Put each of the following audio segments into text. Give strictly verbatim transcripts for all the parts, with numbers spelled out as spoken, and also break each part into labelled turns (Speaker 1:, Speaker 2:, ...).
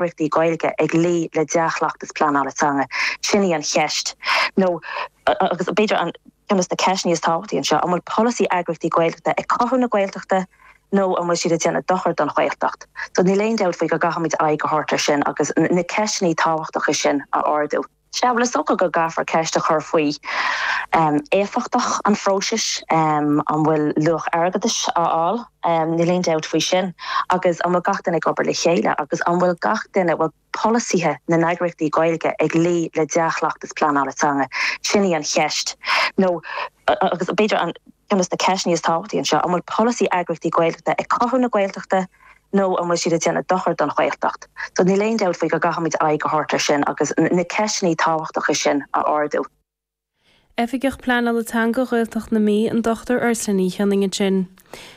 Speaker 1: eagraíochtaí Gaeilge ag luí le dea-chleachtas pleanála teanga? Sin í an cheist. Nó agus b'fhéidir an ceann de na ceisteanna is tábhachtaí anseo, an bhfuil polasaí eagraíochtaí Gaeltachta ag cothú na Gaeltachta nó an bhfuil siad ag déanamh dochar don Ghaeltacht? So níl aon dabht faoi go gcaithfimid aghaidh a thabhairt air sin agus na ceisteanna tábhachtacha sin a ardú. Sea, bhuel is dócha go gcaithfear ceist a chur faoi um, éifeachtacht an phróisis um, an bhfuil luach airgeadais á fháil, um, níl aon dabht faoi sin, agus an bhfuil gach duine ag obair le chéile agus an bhfuil gach duine bhfuil polasaithe na n-eagraíochtaí Gaeilge ag luí le dea-chleachtas pleanála teanga. Sin í an cheist. Nó agus b'fhéidir an ceann de na ceisteanna is tábhachtaí anseo, an bhfuil polasaí eagraíochtaí Gaeltachta ag cothú na Gaeltachta nó an bhfuil siad ag déanamh dochar don Ghaeltacht. So níl aon dabht faoi go gcaithfimid aghaidh a thabhairt air sin agus na ceisteanna tábhachtacha sin a ardú.
Speaker 2: Oifigeach Pleanála Teanga Ghaeltacht na Mí an Dochtúir Ursula Ní Chionnaith ansin.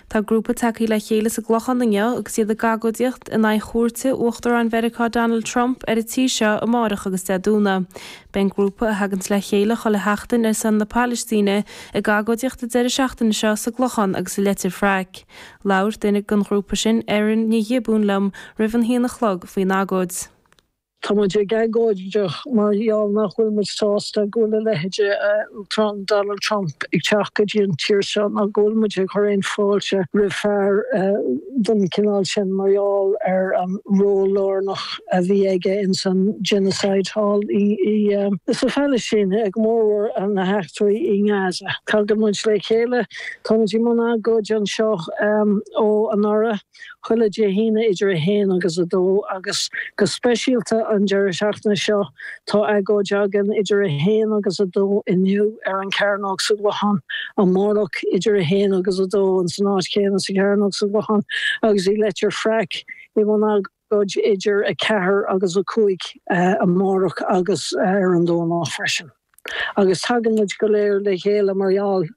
Speaker 2: Tá grúpa tagtha le chéile sa gClochán inniu agus iad ag agóidíocht in aghaidh chuairte Uachtarán Mheiriceá Donald Trump ar an tír seo amárach agus Dé Domhnaigh. Beidh an grúpa a thaganns le chéile chuile sheachtain ar son na Palaistíne ag agóidíocht an deireadh seachtaine seo sa gClochán agus i Leitir Fraic. Labhair duine den ghrúpa sin Erin Ní Ghiobúin liom roimh an haon a chlog faoin agóid.
Speaker 3: Tá muid ag agóidíocht mar gheall nach bhfuil muid sásta go bhfuil a leithéid Uachtarán Donald Trump ag teacht go dtí an tír seo ná go bhfuil muid ag cur aon fáilte roimh fear den chineál sin mar gheall ar an ról lárnach a bhí aige in san genocide thall i i sa Phalaistín ag mór na heachtraí i nGaza. Tagann muid le chéile tá muid i mbun agóid anseo ó anuraidh chuile Dé hAoine idir a haon agus a dó agus go speisialta an deireadh seachtaine seo tá agóid againn idir a haon agus a dó inniu ar an Chearnóg sa gClochán amárach idir a haon agus a dó an san áit chéanna sa Chearnóg sa gClochán agus i Leitir Fraic i mbun agóid idir a ceathair agus a cúig amárach agus ar an Domhnach freisin. Agus tagann muid go léir le chéile mar gheall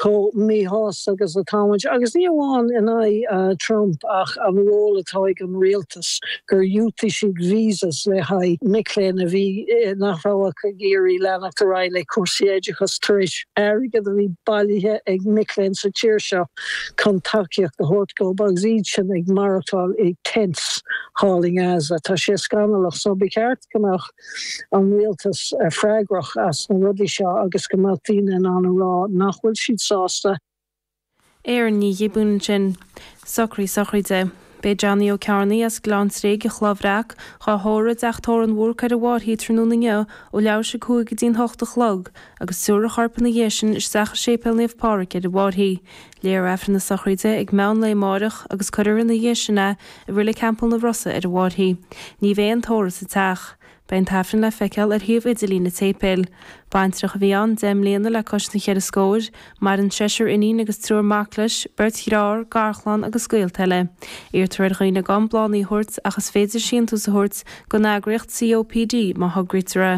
Speaker 3: chomh míshásta agus atá muid, agus ní amháin in aghaidh Trump ach an ról atá ag an rialtas gur dhiúltaigh siad visas le haghaidh mic léinn a bhí nach raibh ach ag iarraidh leanacht ar aghaidh le cúrsaí oideachais tar éis airgead a bhí bailithe ag mic léinn sa tír seo chun tacaíocht a thabhairt dóibh agus iad sin ag maireachtáil i tents thall i nGaza. Tá sé scannalach so ba cheart go mbeadh an rialtas freagrach as na rudaí seo agus go mbeadh daoine in ann a rá nach bhfuil siad sásta.
Speaker 2: Erin Ní Ghiobúin ansin. Socraí sochraide. Beidh Johnny Ó Cearnaigh as Gleann Tréig i Chloich Bhreac dhá thórramh i dteach tórraimh an Bhúrc ar an bhFairche tráthnóna inniu ó leathuair tar éis a cúig go dtí an hocht a chlog agus tabharfar a chorp ina dhiaidh sin isteach i Séipéal Naomh Pádraig ar an bhFairche. Léifear Aifreann na sochraide ag meán lae amárach agus cuirfear ina dhiaidh sin é i Reilig Theampall na Rosa ar an bhFairche. Ní bheidh aon tórramh sa teach. Beidh an t-aifreann le feiceáil ar shuíomh idirlín an tséipéil. Baintreach a bhí ann deich mbliana le cois na cheithre scóir, maireann seisear iníon agus triúr mac leis, beirt dhearthár, garchlann agus gaolta eile. Iarrtar ar dhaoine gan bláthanna a thabhairt ach is féidir síntiús a thabhairt don eagraíocht COPD má thograítear é.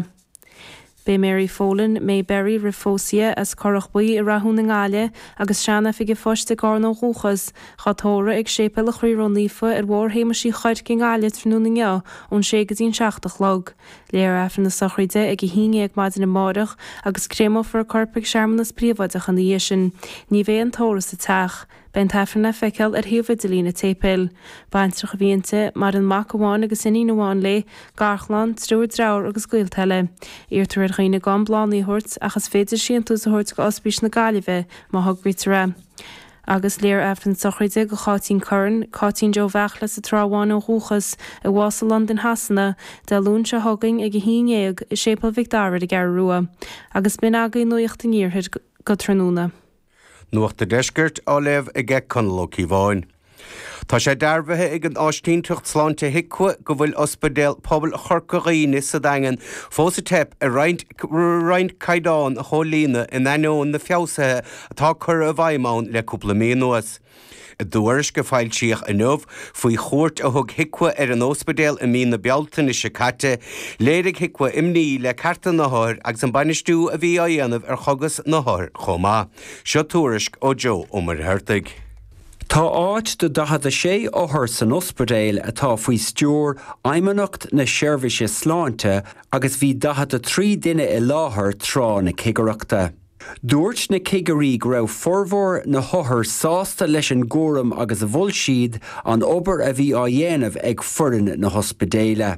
Speaker 2: Beidh Mary Folan, May Berry roimh phósadh as Currach Buí i Rathún i nGaillimh agus sean-oifigigh phoist i gCarna ó dhúchas, dhá tórramh ag Séipéal an Chroí Ró-Naofa ar Bhóthar Shéamais Uí Chuirc i nGaillimh tráthnóna inniu ón sé go dtí an seacht a chlog. Léifear Aifreann na sochraide ag a haon déag maidin amárach agus créamófar a corp ag searmanas príobháideach ina dhiaidh sin. Ní bheidh aon tórramh sa teach. Beidh an t-aifreann le feiceáil ar shuíomh idirlín an tséipéil. Baintreach a bhí inti, maireann mac amháin agus iníon amháin léi, garchlann, triúr dearthár agus gaolta eile. Iarrtar ar dhaoine gan bláthanna a thabhairt ach is féidir síntiús a thabhairt go Ospís na Gaillimhe má thograítear é. Agus léifear Aifreann sochraide do Cháitín Curran, Cáitín Joe Bheachla sa Trá Bháin ó dhúchas, a bhásaigh i Londain Shasana, Dé Luain seo chugainn ag a haon déag i Séipéal Mhic Dara ar an gCeathrú Rua. Agus b'in agaibh nuacht an iarthair go tráthnóna.
Speaker 4: Nuacht an Deiscirt á léamh aige Conall Ó Cíobháin. Tá sé dearbhaithe ag an áisínteacht sláinte HIQA go bhfuil Ospidéal Pobail Chorca Dhuibhne sa Daingean fós ag teip ar roinnt roinnt caighdeán a chomhlíonadh in ainneoin na feabhsuithe atá curtha i bhfeidhm ann le cúpla mí anuas. I dtuairisc a foilsíodh inniu faoi chuairt a thug HIQA ar an ospidéal i mí na Bealtaine seo caite, léirigh HIQA imní le cearta na n-othar agus an bainistiú a bhí á dhéanamh ar chogais na n-othar chomh maith. Seo tuairisc ó Joe Ó Muircheartaigh.
Speaker 5: Tá áit do daichead a sé othar san ospidéal atá faoi stiúir Fheidhmeannacht na Seirbhíse Sláinte agus bhí daichead a trí duine i láthair tráth na cigireachta. Dúirt na cigirí go raibh formhór na n-othar sásta leis an gcúram agus mhol siad an obair a bhí á dhéanamh ag foireann na hospidéile.